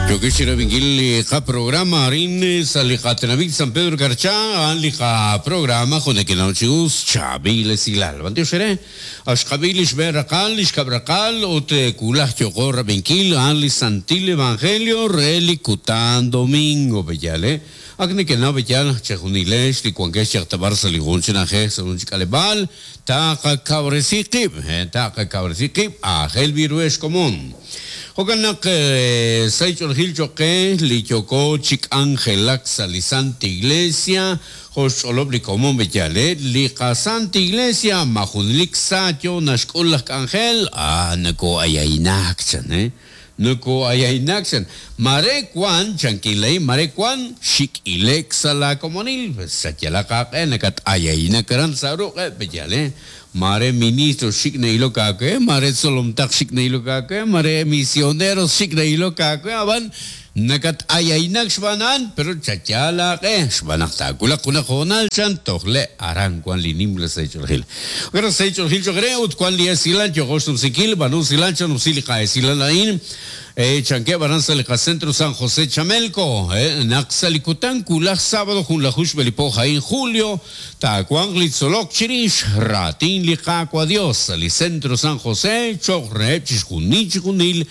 Yokex chirab'inkil li qaprograma arin sa' li qatenamit San Pedro Carchá, a'an li qaprograma jo' nekenaw chi us, Chaab'il Esilal. B'antiox eere, ak xqab'i li xb'een raqal, li xkab' raqal, ut wulaj yooqo rab'inkil a'an li Santil Evangelio re li kutan domingo, pe'yaal, eh? Ak nekenaw pe'yaal naq chejunilex li wankex yaq ta b'ar sa' li jun chi na'ajej sa' jun chi k'aleb'aal, Taqakawresi qib', taqakawresi qib', aajel b'i ru ex komon. Jo'kan naq, sa' ch'oolejil choq' qe li yooko chi k'anjelak sa' li Santa Iglesia, jo' xch'olob' li komon B'eyale, li qaSanta Iglesia ma junelik sa yoo naxk'ul laj k'anjel, ah, noko'ayaynak chan, eh. Noko'ayaynak chan. Mare wan, chankin laa'in, mare wan xik'ile'k sa' laa komonil, xayalaq aaq'e nakat'ayaynak aran sa' ruq'eb', pe'yaal, eh? Mare ministro xik' na'ilok aawe, mare tzolomtaq xik' na'ilok aawe, mare misioneros xik' na'ilok aawe, ab'an nakat'ayaynak xb'aan a'an, pero chayal aaq'e, xb'aan naq taawulaq junaq hoonal chan, toj le' aran wan li nimla sahil ch'oolejil. Jo'kan naq sahil ch'oolejil cho'q re ut wan li esilal yooqo xnumsinkil, b'aanu usilal chanumsi li qa'esilal a'in, chankeb' aran sa' li qacentro San José Chamelco, naq sa' li kutan wulaj sábado junlaju xb'e li po a'in julio, taawanq li tzolok chirix raatin li Qaawa' Dios sa' li Centro San José cho'q reheb' chixjunil chixjunil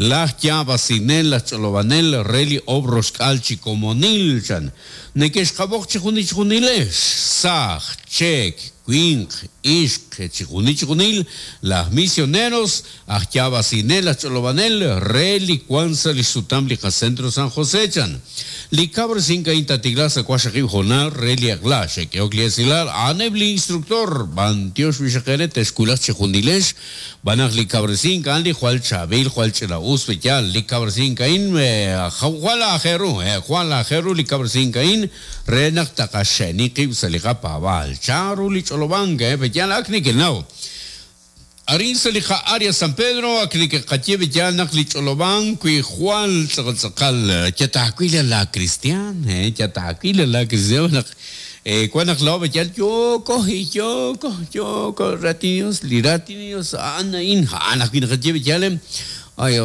laj yaab'asinel, laj ch'olob'anel re li oob' roxk'aal chi komonil, chan. Neke'xqab'oq chixjunil chixjunilex, saaj, cheek, winq, ixq, chixjunil chixjunil laj misioneros, aj yaab'asinel, aj ch'olob'anel re li wank sa' li xsutam li qaCentro San José, chan. Li kawresink a'in taatiklaaq sa' waqxaqib' hoonal re li eq'la. Xe'k'ehok li esilal, a'aneb' li instructor, b'antiox b'ixaq eere texwulaq chejunilex, Xb'aan naq li kawresink a'an li jwal chaab'il, jwal ch'ina-us pe yaal. Li kawresink a'in jwal aajel ru, jwal aajel ru li kawresink a'in re naq taqaxe'ni qib' sa' li qapaab'aal. Chan ru li ch'olob'ank pe yaal? Ak nekenaw. Arin sa' li qa-Area San Pedro ak neke'qaye pe yaal naq li ch'olob'ank wi jwal tz'aqal tz'aqal yataawil la kristiaan, yataawil la kristiaan naq Wan naq laa'o yal yooko, yooko, yooko raatin li Dios, li raatin li Dios a'an a'in, a'an ajwi' naqaye yal, ay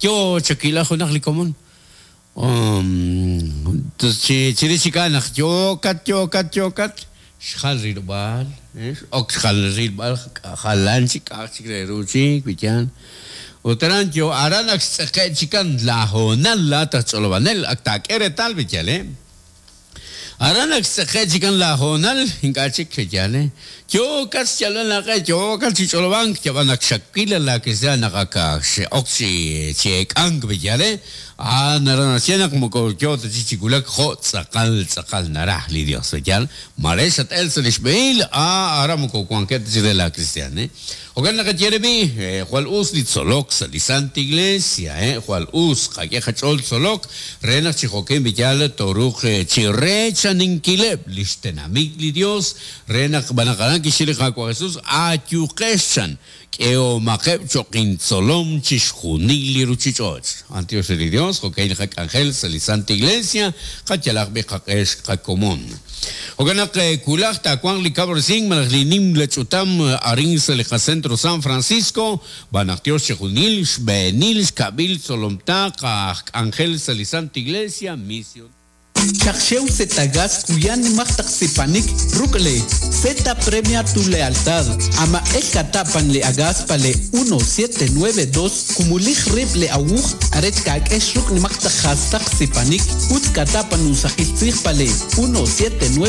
yoo chakila junaq li komon. Chirix chik a'an naq yookat, yookat, yookat, xjal rilob'aal, x'ok xjal rilb'al jalan chik k'a'aq chik re ru chik, wi yaal. Ut aran yoo, aran ak xtz'eqe' chikan laa hoonal laa'at aj ch'olob'anel, ak taak'e reetal wi yaal, Aran ak xtz'eqe' chikan laa hoonal, ink'a' chik, yaal, yookat xyalb'al aaq'e, yookat chi ch'olob'ank, yab'an ak xawil laa kristiaan naq ak xe'ok chi chi eek'ank, yaal, a'an naraj naxye naq moko yoo ta chik chi wulak jo' tz'aqal tz'aqal naraj li Dios, yaal, maare xat-el sa' lix b'ehil, aran moko wankeb' ta chik re laa kristiaan. Jo'kan naqaye re b'i', jwal us li tzolok sa' li Santa Iglesia, jwal us qak'e qach'ool tzolok re naq chi jo'kin b'iyal tooruuq chi reechaninkileb' lix tenamit li Dios re naq b'an naq aran kixye li Qaawa' Jesus, Ayuqex, chan, k'ehomaqeb' cho'q intzolom chixjunil li ruchich'och'. B'antiox re li Dios, jo'ka'in li qak'anjel sa' li Santa Iglesia, qayalaq b'i' qaq'e xqakomon. Jo'kan naq wulaj taawanq li kawresink malaj li nimla ch'utam arin sa' li qacentro San Francisco, b'an naq Dios chixjunil, xb'eenil, xkab'il tzolomtaq, aj k'anjel sa' li Santa Iglesia, mision. Xaq xew Zetagas kuya nimaq taq sipanik ruk' le Zeta Premia Tu Lealtad. Amaq'el kata' pan le agas pa le 1792 Kumulij rib' le awuj arech kak'ex ruk' nimaq taq jastaq sipanik, utz kata pa nusaqil tzij pa le 1792.